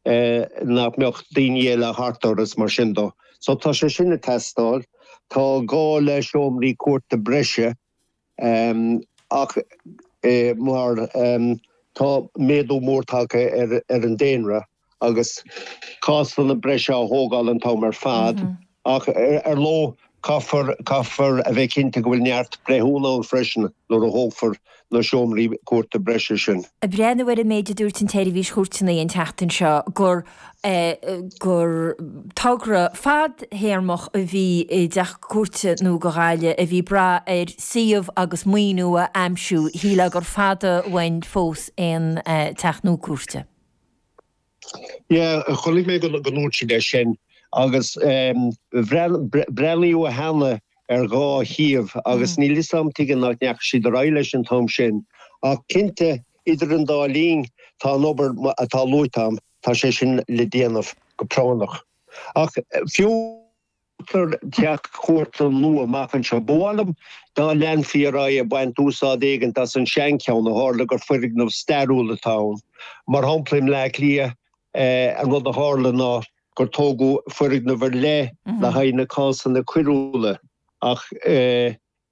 Nach mbeadh daoine eile thart orthu is mar sin dó. So tá sé sin ag teastáil. Tá gá le seomraí cúirte breise ach mar tá méadú mór tagtha ar an daonra agus cásanna breise á thógáil an t-am ar fad ach ar ndóigh caithfear caithfear a bheith cinnte go bhfuil neart breithiúna ann freisin nuair a thógfar na seomraí cúirte breise sin. Ag breathnú ar an méid a dúirt an tSeirbhís Chúirteanna an tseachtain seo gur gur togra fadthéarmach a bhí i dteach cúirte nua do Ghaillimh a bhí ag brath ar suíomh agus maoiniú a aimsiú, shílfeá gur fada uainn fós aon teach nua cúirte. Yeah, chonaic mé go ndúirt siad é sin agus breathnaíodh cheana ar dhá shuíomh agus níl fhios a'm tuige nach ndeachaigh siad ar aghaidh leis an t-am sin. Ach cinnte, idir an dá linn, tá an obair atá luaite a'm, tá sé sin le déanamh go práinneach. Ach fiú. Teach cúirte nua amach anseo. Ba mhaith liom dá leanfaí ar aghaidh ag baint úsáid éigint as an seancheann ó tharla gur foirgneamh stairiúil atá ann. Mar shampla i mBleá Cliath, an rud a tharla ná gur tógadh foirgneamh ar leith le haghaidh na cásanna coiriúla ach,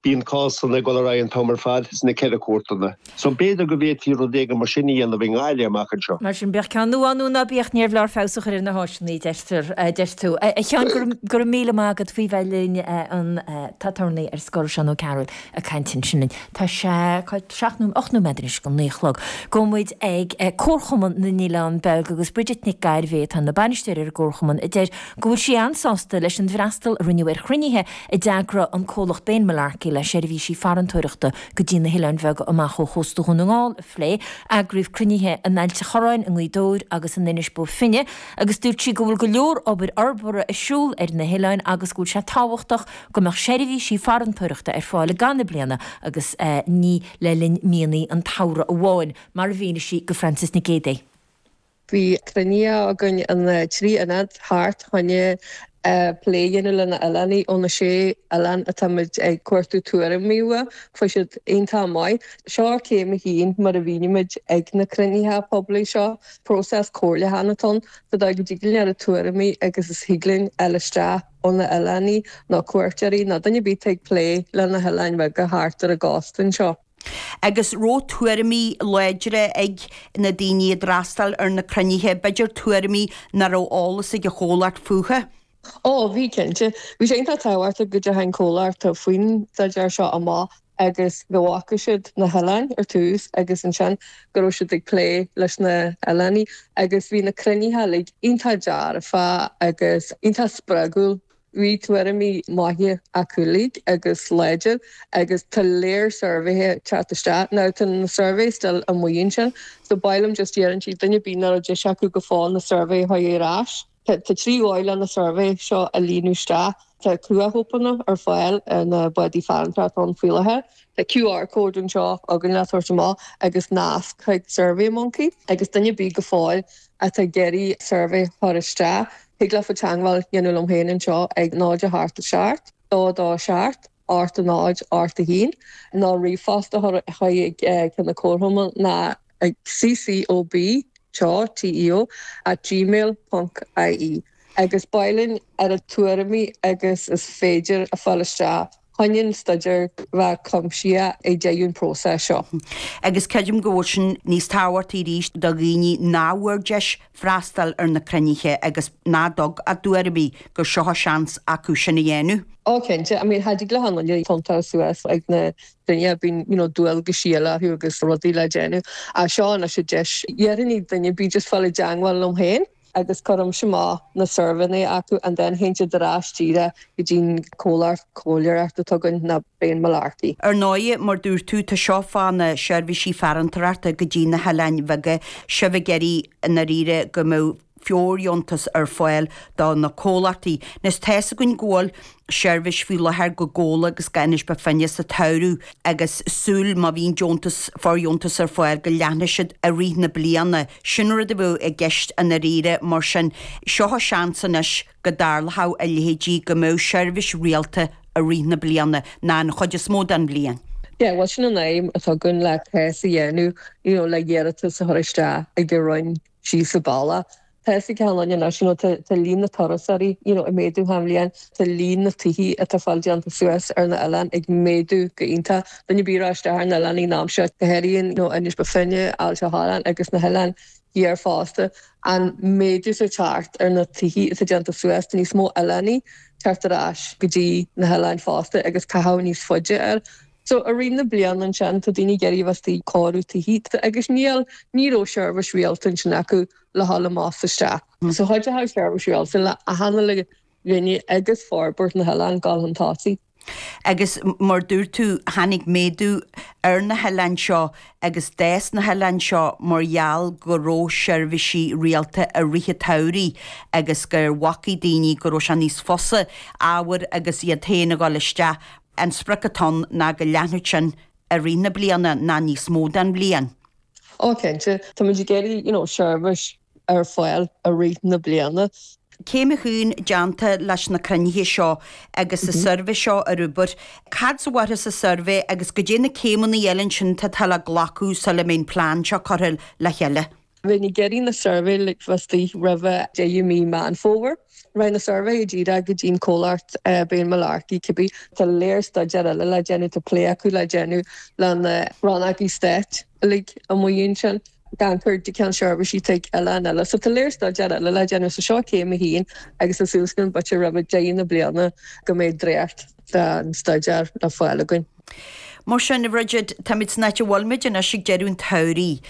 Bíonn cásanna ag dul ar aghaidh an t-am ar fad sna ceithre cúirteanna. So b'fhéidir go bhféadfaí rud éigin mar sin a dhéanamh i nGaillimh amach anseo. Mar sin, bíodh ceann nua ann nó ná bíodh, níorbh leor feabhas a chur ar na háiseanna, a deirtear, a deir tú. A Sheáin, go raibh, go raibh míle maith agat faoi bheith linn, an t-aturnae ar scor, Seán Ó Cearúil, ag caint ansin linn. Tá sé, cá, seacht nó 8 nóiméad anois go naoi a chlog. Gabhfaidh muid ag Comharchumann na nOileán Beag agus Bridget Nic Gairbhé atá ina bainisteoir ar an gComharchumann a deir go bhfuil sí an-sásta leis an bhfreastal a rinneadh ar chruinnithe a d'eagraigh an comhlacht Bane Mullarkey le seirbhísí farantóireachta go dtí na hoileáin bheaga amach ó chósta Dhún na nGall a phlé. Eagraíodh cruinnithe in Ailt a' Chorráin, i nGaoth Dobhair agus in Inis Bó Finne agus dúirt sí go bhfuil go leor obair fhorbartha ar siúl ar na hoileáin agus go bhfuil sé tábhachtach go mbeadh seirbhísí farantóireachta ar fáil i gcaitheamh na bliana agus ní le linn míonna an tsamhraidh amháin, mar a mhínigh sí go Frances Nic Géadaigh. Bhí cruinnithe againn in 3 ionad thart choinne plé a dhéanamh le na oileánaigh ó na sé oileán atáimid ag cuartú tuairimí uathu. Fuair siad iontach maith. Seo céim a haon mar a mhínimid ag na cruinnithe poiblí seo. Próiseas comhairliúcháin atá ann sa dóigh go dtig linn oiread tuairimí agus is thig linn fháil isteach ó na oileánaigh nó cuairteoirí nó duine ar bith atá ag plé le na hoileáin bheaga thart ar an gcósta anseo. Agus raibh tuairimí láidre ag na daoine a d'fhreastail ar na cruinnithe, b'fhéidir tuairimí nach raibh eolas ag an chomhlacht fúthu? Ó, bhí cinnte. Bhí sé iontach tábhachtach go dteachaigh an comhlacht faoin staidéar seo amach agus go bhfaca siad na hoileáin ar tús agus ansin go raibh siad ag plé leis na hoileánaigh agus bhí na cruinnithe uilig iontach dearfa agus iontach spreagúil. Bhí tuairimí maithe acu uilig agus láidir agus tá léar suirbhéithe ag teacht isteach. Now tá na suirbhé still amuigh ansin so ba mhaith liom just iarraint ar duine ar bith nach raibh deis acu go fóill na suirbhé a chur ar ais. Tá 3 dhóigh le na suirbhé seo a líonadh isteach. Tá cruachóipeanna ar fáil ar na bádaí farantóireachta ann faoi láthair. Tá QR code anseo againn le tabhairt amach agus nasc chuig Survey Monkey agus duine ar bith go fóill atá ag iarraidh suirbhé a chur isteach, Thig leofa teangmháil a dhéanamh liom féin anseo ag 0 8 7 2 2 7 8 0 8 1 nó ríomhphost a chur chuig ceann na Comharchumainn ná ag ccob teo, TEO, at gmail ponc ie agus ba mhaith linn oiread tuairimí agus is féidir a fháil isteach chun an staidéar bheith cuimsitheach ag deireadh an próiseas seo. Agus creidim go bhfuil sin níos tábhachtaí arís do dhaoine nach bhfuair deis freastal ar na cruinnithe agus nach dtug a dtuairimí, gur seo a seans acu sin a dhéanamh. Ó cinnte, I mean cha dtig le haon duine tiontú suas ag na cruinnithe, bíonn you know dualgaisí eile orthu agus rudaí le déanamh. Ach seo anois an deis, dhéarfainn duine ar bith just fáil i dteangmháil liom féin. agus cuirimse amach na suirbhéanna acu and then théann siad ar ais díreach go dtí'n comhlacht comhairleoireachta atá againn ná Bane Mullarkey. Ar ndóigh, mar dúirt tú, tá seo fá na seirbhísí farantóireachta go dtí na hoileáin bheaga, sibh ag iarraidh i ndáiríre go mbeadh fóirdheontas ar fáil do na comhlachtaí. Anois tá's againn go bhfuil seirbhís faoi láthair go Gabhla agus go Inis Bó Finne sa tsamhradh agus súil má bhíonn deontas, fóirdheontas ar fáil go leathnóidh siad i rith na bliana. Sin rud a bheadh i gceist i ndáiríre mar sin seo a seans anois go dtarlódh a leithéidí go mbeadh seirbhís rialta i rith na bliana ná an chuid is mó den bhliain. Yeah, bhuel sin an aidhm atá againn le cás a dhéanamh, you know, le hiarratas a chur isteach ag an Roinn síos an bealach. Tá fhios ag achan duine anois, you know, tá tá líon na turasóirí, you know, ag méadú achan bhliain, tá líon na tithe atá fáil déanta suas ar na oileáin ag méadú go iontach. Duine ar bith a raibh isteach ar na oileáin an am seo, go háirithe, you know, Inis Bó Finne, Aillte Árann agus na hoileáin thiar fosta, an méadú atá teacht ar na tithe atá déanta suas, tá níos mó oileánaigh teacht ar ais go dtí na hoileáin fosta agus caitheamh níos faide air. So i rith na bliana ansin tá daoine ag iarraidh a bheith istigh ag cóiriú tithe agus níl, ní raibh seirbhís rialta ansin acu le dhul amach is isteach. So chuideodh seirbhís rialta le achan uile dhuine agus forbairt na hoileán dul chun tosaigh. Agus mar dúirt tú, tháinig méadú ar na hoileáin seo agus d'fhás na hoileáin seo mar gheall go raibh seirbhísí rialta i rith an tsamhraidh agus gur mhacaigh daoine go raibh sé níos fusa ábhair agus iad féin a dhul isteach. An sprioc atá ann ná go leathnódh sin i rith na bliana ná níos mó den bhliain. Ó cinnte, tá muid ag iarraidh you know seirbhís ar fáil i rith na bliana. Céim a haon déanta leis na cruinnithe seo agus an suirbhé seo ar obair. Cad a fuarthas sa suirbhé agus goidé na céimeanna eile ansin atá le glacadh sula mbeidh an plean seo curtha le chéile? Bheinn ag iarraidh na suirbhé le bheith istigh roimhe deireadh mí Meán Fómhair. Raghaidh na suirbhé díreach go dtí an comhlacht Béal Malarkey cibé. Tá léar staidéar eile le déanamh, tá plé acu le déanamh le na rannógaí stáit uilig amuigh ansin gan cur de ceann seirbhísí chuig oileáin eile. So tá léar staidéar eile le déanamh. So seo céim a haon agus tá súil againn b'fhéidir roimhe deireadh na bliana go mbeidh dréacht den staidéar le fáil againn. Mar sin, a Bhridget, táimid san áit a bhfuil muid anois ag deireadh an tsamhraidh.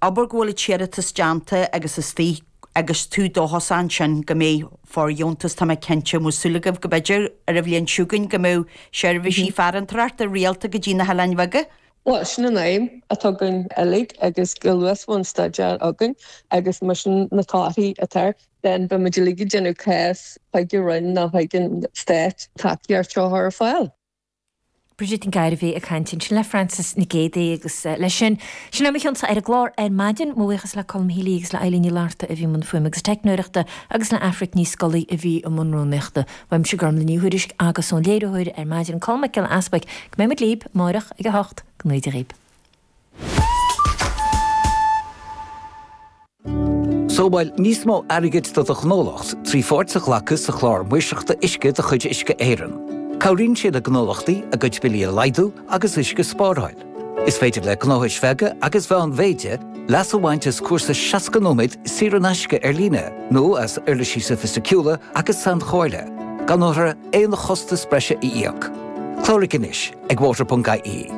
Abair go bhfuil an t-iarratas déanta agus istigh agus tú dóchasach ansin go mbeidh fóirdheontas, tá mé cinnte, an bhfuil súil agaibh go b'fhéidir ar an bhliain seo chugainn go mbeidh seirbhísí farantóireachta rialta go dtí na hOileáin Bheaga? Bhuel, sin an aidhm atá againn uilig agus go luath is a bheidh an staidéar againn agus mar sin na torthaí atá air, then beidh muid uilig ag déanamh cás chuig an Roinn nó chuig an Stát tacaíocht seo a chur ar fáil. Bridget Nic Gairbhí ag caint ansin le Frances Nic Géadaigh agus leis sin, sin é mo chionsa ar an gclár ar maidin. Mo bhuíochas le Colm Healy agus le Eileen Ní Fhlatharta a bhí i mbun fuaime agus teicneoireachta agus le Aifric Ní Scolaí a bhí i mbun rúnaíochta. Uaimse Gormlaith Ní Thuairisg agus ón léiritheoir ar maidin Colm Mac Giolla Easbuic go mbeidh muid libh amáireach ag a hocht. Go ngnóthaí Dia dhaoib. Sábháil níos mó airgid do do ghnólacht trí pháirt a ghlacadh sa Chlár Maoirseachta Uisce de chuid Uisce Éireann. Cabhraíonn sé le gnólachtaí a gcuid billí a laghdú agus uisce a spáráil. Is féidir le gnóthais bheaga agus mheánmhéide leas a bhaint as cúrsa 60 nóiméad saor in aisce ar líne nó as uirlisí sofaisticiúla agus sainchomhairle, gan orthu aon chostas breise a íoc. Cláraigh anois ag water.ie.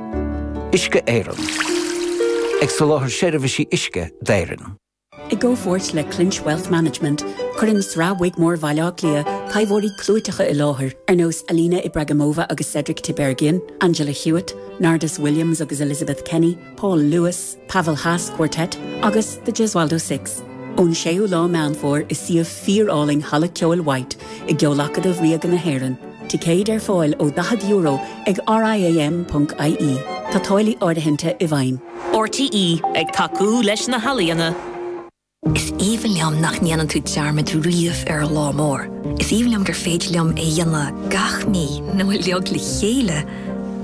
Uisce Éireann. Ag soláthar seirbhísí uisce d'Éirinn. I gcomhpháirt le Clinch Wealth Management, cuireann Sraith Wigmore Bhaile Átha Cliath taibheoirí clúiteacha i láthair ar nós Alina Ibragimova agus Cedric Tiberghien, Angela Hewitt, Nardus Williams agus Elizabeth Kenny, Paul Lewis, Pavel Haas Quartet agus The Gesualdo Six. Ón 6ú lá Meán Fómhair i suíomh fíor-álainn Halla Ceoil White i gCeol-Acadamh Ríoga na hÉireann. Ticéid ar fáil ó €40 ag riam.ie. Tá táillí áirithinte i bhfeidhm. RTÉ, ag tacú leis na healaíona. Is aoibhinn liom nach ndéanann tú dearmad riamh ar an lá mór. Is aoibhinn liom gur féidir liom é a dhéanamh gach mí nó uilig le chéile.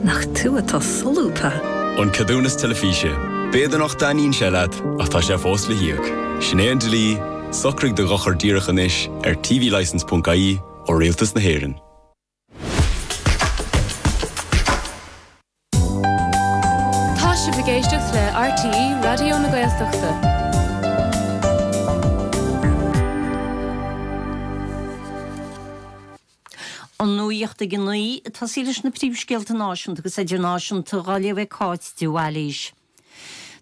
Nach tú atá solúbtha! An Ceadúnas Teilifíse. B'fhéidir nach dtaitníonn sé leat, ach tá sé fós le híoc. Sin é an dlí, socraigh do dhochar díreach anois ar tvlicence.ie ó Rialtas na hÉireann. Tá sibh ag éisteacht le RTÉ Raidió na Gaeltachta. An nuacht ag a 9, ag tosaí leis na príomhscéalta náisiúnta agus idirnáisiúnta dhá léamh ag Cáit de Bhailís.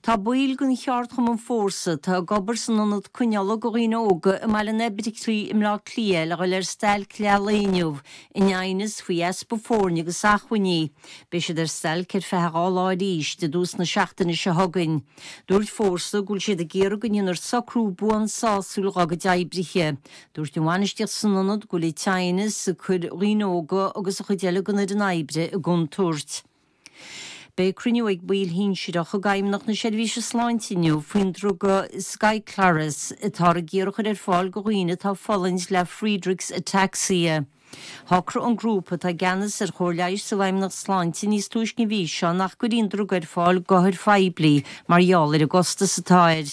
Tá baill den cheardchumann Fórsa, atá ag obair san ionad coinneála do dhaoine óga i mBaile an Oibricigh i mBleá Cliath le dhul ar stailc leath lae inniu in aighneas faoi easpa foirne agus acmhainní. Beidh siad ar stailc ar feadh 2 lá arís i dtús na seachtaine seo chugainn. Dúirt Fórsa go bhfuil siad ag iarraidh go ndéanfar socrú buan sásúil dhá gcuid oibrithe. Dúirt an bhainistíocht san ionad go bhfuil an t-aighneas ag cur dhaoine óga agus an chuid eile den fhoireann oibre i gcontúirt. Beidh cruinniú ag baill shinsearacha d'Fheidhmeannacht na Seirbhíse Sláinte inniu faoin druga Skyclarys atáthar ag iarraidh a chur ar fáil do dhaoine atá ag fulaingt le Friedreich's Ataxia. Shocraigh an grúpa atá i gceannas ar chóir leighis sa bhFeidhmeannacht Sláinte níos túisce an mhí seo nach gcuirfí an druga ar fáil d'othair phoiblí mar gheall ar an gcostas atá air.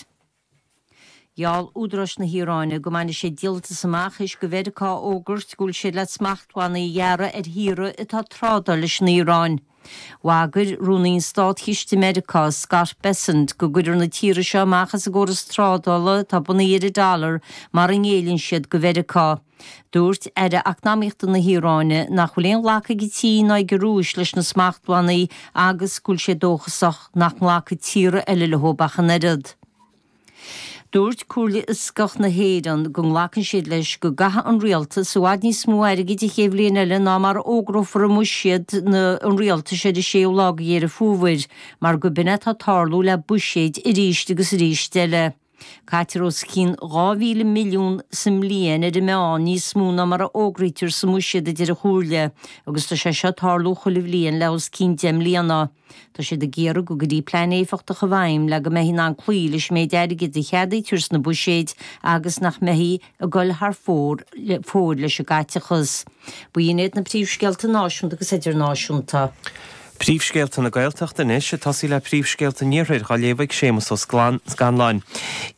Gheall údaráis na hIaráine go mbainfidh siad díoltas amach théis do Mheiriceá a fhógairt go bhfuil siad le smachtbhannaí a ghearradh ar thíortha atá ag trádáil leis an Iaráin. Bhagair Rúnaí an Státchiste i Meiriceá, Scott Bessent, go gcuirfear na tíortha seo amach as an gcóras trádála atá bunaithe ar an dollar mara ngéilleann siad do Mheiriceá. Dúirt Aire Eacnamaíochta na hIaráine nach bhfuil aon ghlacadh ag an tSín ná ag an Rúis leis na smachtbhannaí agus go bhfuil sé dóchasach nach nglacfaidh tíortha eile leo ach an oiread. Dúirt Comhairle Fhioscach na hÉireann go nglacann siad leis go gcaithfidh an Rialtas i bhfad níos mó airgid an chéad bhliain eile ná mar a fhógrófar i mbuiséad an Rialtais ar an séú lá de Dheireadh Fómhair, mar go b'in é atá ag tarlú le buiséid arís agus arís eile. Caitear os cionn 2,000 milliún sa mbliain ar an meán, níos mó ná mar a fhógraítear sa mbuiséad a deir an Chomhairle, agus tá sé seo ag tarlú chuile bhliain le os cionn 10 mbliana. Tá siad ag iarraidh go gcuirfí plean éifeachtach i bhfeidhm le go mbeifí in ann cloí leis an méid airgid a cheadaítear sna buiséid agus nach mbeifí ag dul thar fóir leis an gcaiteachas. B'in iad na príomhscéalta náisiúnta agus idirnáisiúnta. Príomhscéalta na Gaeltachta anois, ag tosaí le príomhscéalta an Iarthair á léamh ag Séamus Ó Scanláin.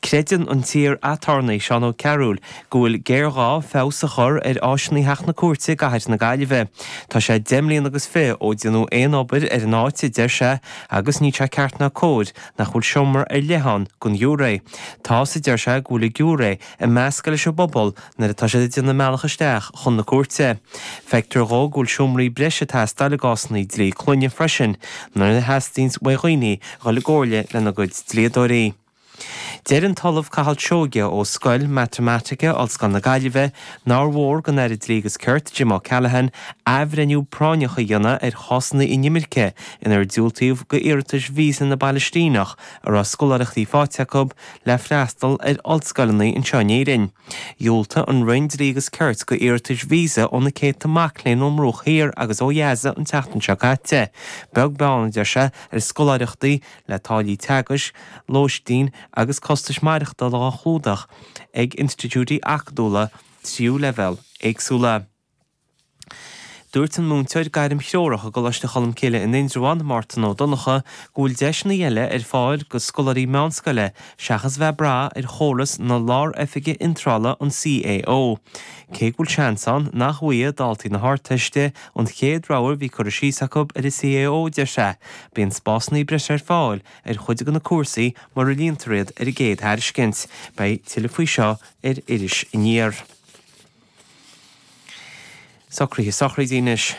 Creideann an t-iar-aturnae Seán Ó Cearúil go bhfuil géarghá feabhas a chur ar áiseanna Theach na Cúirte i gcathair na Gaillimhe. Tá sé 10 mbliana agus 20 ó déanadh aon obair ar an áit, a deir sé, agus níl sé ceart ná cóir nach bhfuil seomra ar leith ann don ghiúiré. Tá's, a deir sé, go bhfuil an giúiré ag meascadh leis an bpobal nuair atá siad ag déanamh a mbealach isteach chun na cúirte. Feictear dhó go bhfuil seomraí breise ag teastáil i gcásanna dlí clainne freisin nuair a theastaíonns uaidh dhaoine dhul i gcomhairle lena gcuid dlíodóirí. Deir an tOllamh Cathal Seoighe ó Scoil Matamaitice Ollscoil na Gaillimhe nár mhór don Aire Dlí agus Cirt, Jim O'Callaghan, athbhreithniú práinneach a dhéanamh ar chásanna inimirce inar diúltaíodh d'iarratais víosa na bPalaistíneach a raibh scoláireachtaí faighte acu le freastal ar ollscoileanna anseo in Éirinn. Dhiúltaigh an Roinn Dlí agus Cirt d'iarratais víosa ó na céadta mac léinn ón mBruach Thiar agus ó Ghaza an tseachtain seo caite, beag beann, a deir sé, ar scoláireachtaí le táillí teagaisc, lóistín agus costais maireachtála á chlúdach ag institiúidí acadúla tríú leibhéal éagsúla. Dúirt an múinteoir gairmthreorach i gColáiste Cholmcille in Indreabhán, Mártan Ó Donnchadha, go bhfuil deiseanna eile ar fáil do scoláirí meánscoile seachas bheith ag brath ar chóras na Lár-Oifige Iontrála, an CAO. Cé go bhfuil seans ann nach bhfaighidh daltaí na hArdteiste an chéad rogha a bhí curtha síos acu ar an CAO, deir sé, Bíonn spásanna breise ar fáil ar chuid de na cúrsaí mura líontar iad ar an gcéad thairiscint. Beidh tuilleadh faoi seo ar Iris Aniar. Socruithe sochraide anois.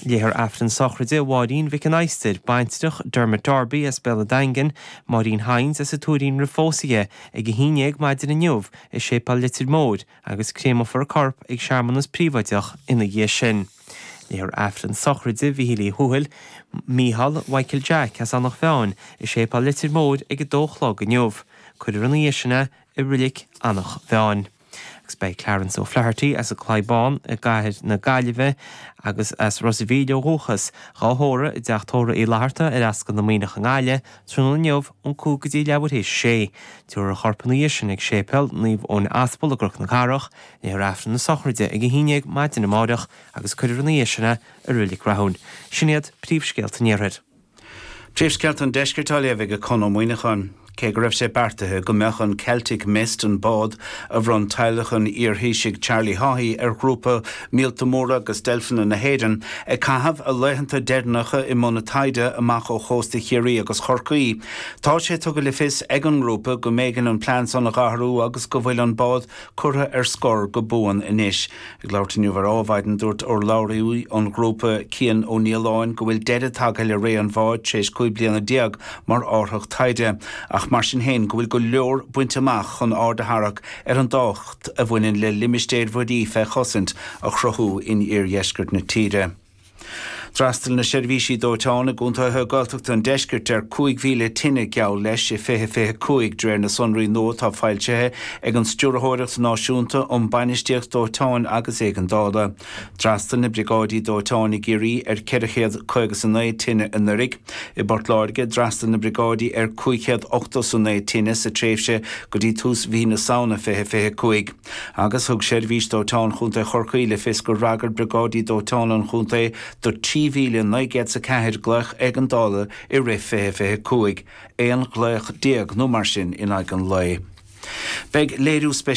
Léifear Aifreann sochraide Mháirín Mhic an Adhastair, baintreach Dermot Darby as Béal an Daingin, Máirín Hynes as an Tuairín roimh phósadh di, ag 11 maidin inniu i Séipéal Leitir Móir agus créamfar a corp ag searmanas príobháideach ina dhiaidh sin. Léifear Aifreann sochraide Mhíchíl Uí Thuathail, Mícheál Mhichael Jack as Eanach Mheáin, i Séipéal Leitir Móir ag 2 a chlog inniu. Cuirfear ina dhiaidh sin é i Reilig Eanach Mheáin. Agus beidh Clarence O'Flaherty as an gClaí Bán i gcathair na Gaillimhe agus as Ros a' Mhíl ó dhúchas, dhá thórramh i dTeach Tórraimh Uí Fhlatharta ar Ascaill na Muimhneach i nGaillimh tráthnóna inniu ón 5 go dtí leathuair théis a sé. Tabharfar a chorp ina dhiaidh sin ag Séipéal Naomh Eoin Aspal i gCnoc na Cathrach. Léifear Aifreann na sochraide ag 11 maidin amáireach agus cuirfear ina dhiaidh sin é i Reilig Rathúin. Sin iad príomhscéalta an Iarthair. Príomhscéalta an Deiscirt á léamh ag Conn Ó Muíneacháin. Cé go raibh sé beartaithe go mbeadh an Celtic Mist, an bád a bhronn teaghlach an iarThaoisigh Charlie Haughey ar ghrúpa Míolta Móra agus Deilfeanna na hÉireann, ag caitheamh a laethanta deireanacha i mbun a taighde amach ó chósta Chiarraí agus Chorcaí, tá sé tugtha le fios ag an ngrúpa go mb'éigean an plean san a dh'athrú agus go bhfuil an bád curtha ar scor go buan anois. Ag labhairt inniu ar Adhmhaidin, dúirt urlabhraí an ghrúpa, Cian Ó Nialláin, go bhfuil deireadh tagtha le ré an bháid tar éis 15 bliana mar árthach taighde, ach mar sin féin go bhfuil go leor bainte amach chun aird a tharrac ar an dtábhacht a bhaineann le limistéir mhuirí fé chosaint a chruthú in iardheisceart na tíre. D'fhreastail na seirbhísí dóiteáin i gcontaetha Gaeltachta an deiscirt ar 5,000 tine geall leis i 2025, de réir na sonraí nua atá foilsithe ag an Stiúrthóireacht Náisiúnta um Bainistíocht Dóiteáin agus Éigeandála. D'fhreastail na briogáidí dóiteáin i gCiarraí ar 459 tine anuraidh. I bPort Láirge, d'fhreastail na briogáidí ar 589 tine sa tréimhse go dtí tús mhí na Samhna 2025. Agus thug Seirbhís Dóiteáin Chontae Chorcaí le fios gur fhreagair Briogáidí Dóiteáin an chontae do 3,904 glaoch éigeandála i rith 2025, 11 ghlaoch nó mar sin in aghaidh an lae. Beidh léiriú speisialta.